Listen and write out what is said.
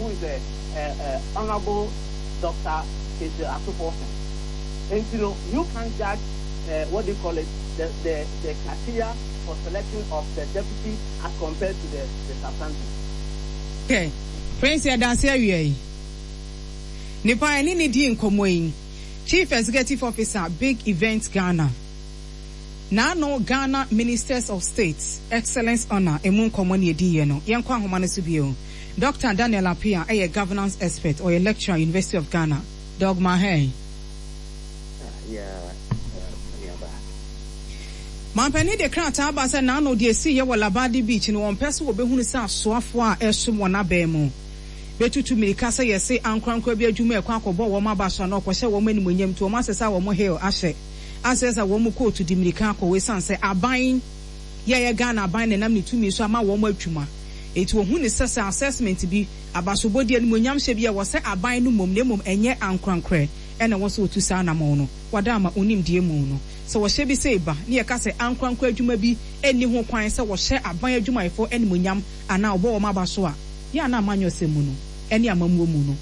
who is a Honourable Doctor Cassiel Ato Forson. Nti no, you can't judge what do you call it, the the the criteria for selection of the deputy as compared to the the substantive. Okay, Prince yɛda ase awia yi. Nipa a yɛne no dii nkɔmmɔ yi, Chief Executive Officer, Big Event Ghana. N'ano Ghana Ministers of State Excellence Honour emu nkɔmmɔ na yɛdiiɛ no. Yɛnkɔ ahoma no so bio. Dɔkta Daniel Appiah yɛ Governance Expert, ɔyɛ Lecturer, University of Ghana. Dogma hey. Mampanin de krataa aba sɛ n'ano deɛ ɛsiiɛ wɔ Labadi Beach no wɔmpɛ sɛ wɔbɛhunu sɛ asoafoɔ a ɛresom wɔn abɛn mu bɛtutu mmirika sɛ yɛse ankorankora bi adwuma ɛkɔ akɔbɔ wɔn aba so anaa ɔkɔhyɛ wɔn animuonyam nti wɔn asesa wɔn heel ahyɛ asɛ sɛ wɔn kootu de mmirika akɔ hɔ esiane sɛ aban yi a ɛyɛ Ghana aban na ɛnam ne tumi so ama wɔn adwuma enti wɔhu no sɛ sɛ assessment bi, abasobɔdi, animuonyamhyɛ bi a ɛwɔ sɛ aban no mmom na mmom ɛnyɛ ankorankorɛ na ɛwɔ sɛ wɔtu saa anamɔn no. Wɔada ama wo nimdeɛ mu no sɛ wɔhyɛ bi sei ba ne yɛka sɛ ankorankorɛ adwuma bi nni ho kwan sɛ wɔhyɛ aban adwumayɛfoɔ animuonyam anaa wɔbɔ wɔn aba so a, yɛ a na amanyɔsɛm mu no ne amammuo mu no.